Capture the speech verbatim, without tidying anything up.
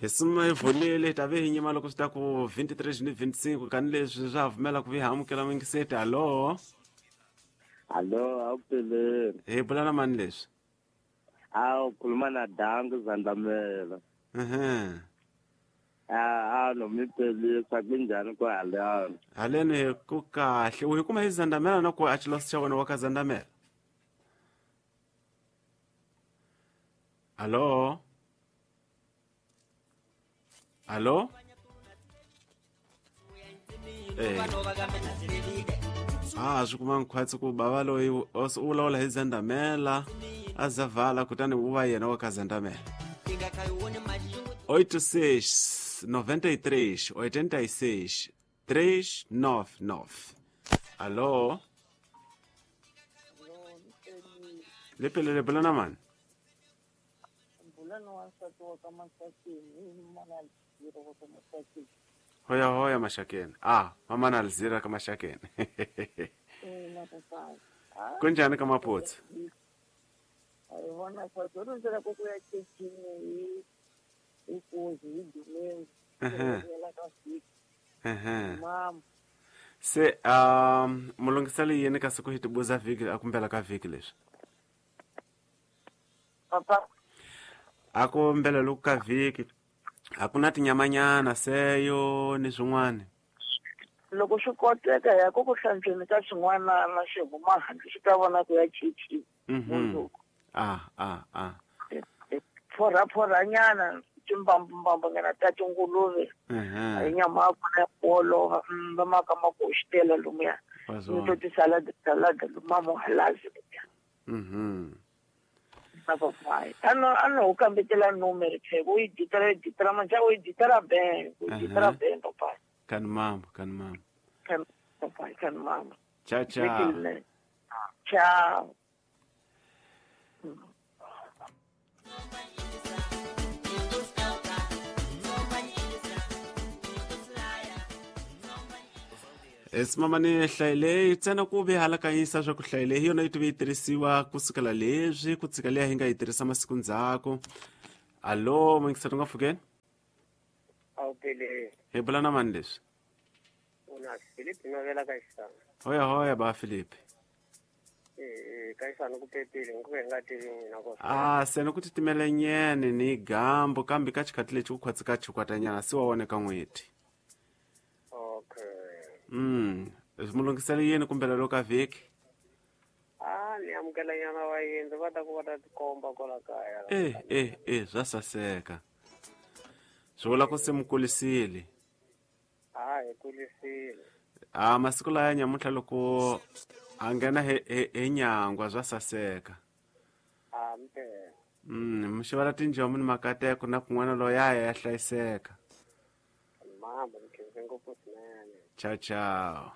Hi suma hi vonile ta ve hi nyima loko swi ta ku twenty-three ni twenty-five kani leswi swa pfumela ku vi hi amukela mingiseti. Hallo. Hallo, awuphelele. Hi bula na mani leswi? Awu khuluma na Dangu Zandamela. Mhm. Ah, no mi pelisa kunjani kwa haleni? Haleni ku kahle. U hi kuma hi Zandamela na ku a xilosi xa wena wa ka Zandamela? Hallo? Hallo? Eh. Ah, swi kuma nkhwatsi ku bava loyi u vulavula hi Zandamela a zavala kutani u va yena wa ka Zandamela. oito seis noventa e três oitenta e seis três nove nove. Alô? Lepele lepele mani? Hoya hoya Mashakeni. Ah, mama na Alzira ka Mashakeni. Kunjani ka Maputsu? Se um mulungiseli yini ka siku hi tibuza vhiki a kumbela ka vhiki leswi? Papa a ku mbela loku ka vhiki a ku na tinyamanyana seyo ni swin'wana. Loko swi koteka ya ku ku hlantsweni ka swin'wana na xi huma handle swi ta vona ku ya chichi. Mhm. Ah ah ah. Phora phora nyana timbambu ngana ta tinguluve. Mhm. Hi nyama ya kona ya olova va maka ma ku xitela lomuya. Ni to ti salad salad luma mo halazi. Mhm. Papai. Ano ano ukambetela numero che voi ditara ditara manja voi ditara bem, voi ditara bem papai. Kan mama, kan mama. Kan papai, kan mama. Ciao ciao. Ciao. Esimama ni hlayile ntsena ku ve hala ka yisa swa ku hlayile hi yona yi tive yi tirhisiwa ku sukela leswi ku tshika leyi hi nga yi tirhisa masiku ndzhaku. Allo, mingiseti nga pfukeni? Awuphelele. Hi bula na mani leswi? Una Philip Novela ka Xisana. Hoya hoya ba Philip. Eh ka Xisana ku pepile ngikuve nga tivi mina ko. Ah, sena ku titimela nyene ni gambo kambe ka xikhathi lexi ku khwatsi ka chikwatanyana si wa wona ka n'hweti. Okay. Mm, mulungiseli yini kumbela loko ka vhiki? Ah, ni amukela nyana wa yindlu va ta ku va ta tikomba kwala kaya. Eh eh eh swa saseka. Swi vula ku se mi kulisile. Ah, hi kulisile. Ah, masiku laya nyamuntlha loko a nghena hi hi nyangwa swa saseka. Ah, mpela. Mm, mi xavela tinjomu ni makateko na kun'wana loyi a ya hlayiseka. Mama, ni khense ngopfu swinene. Ciao ciao.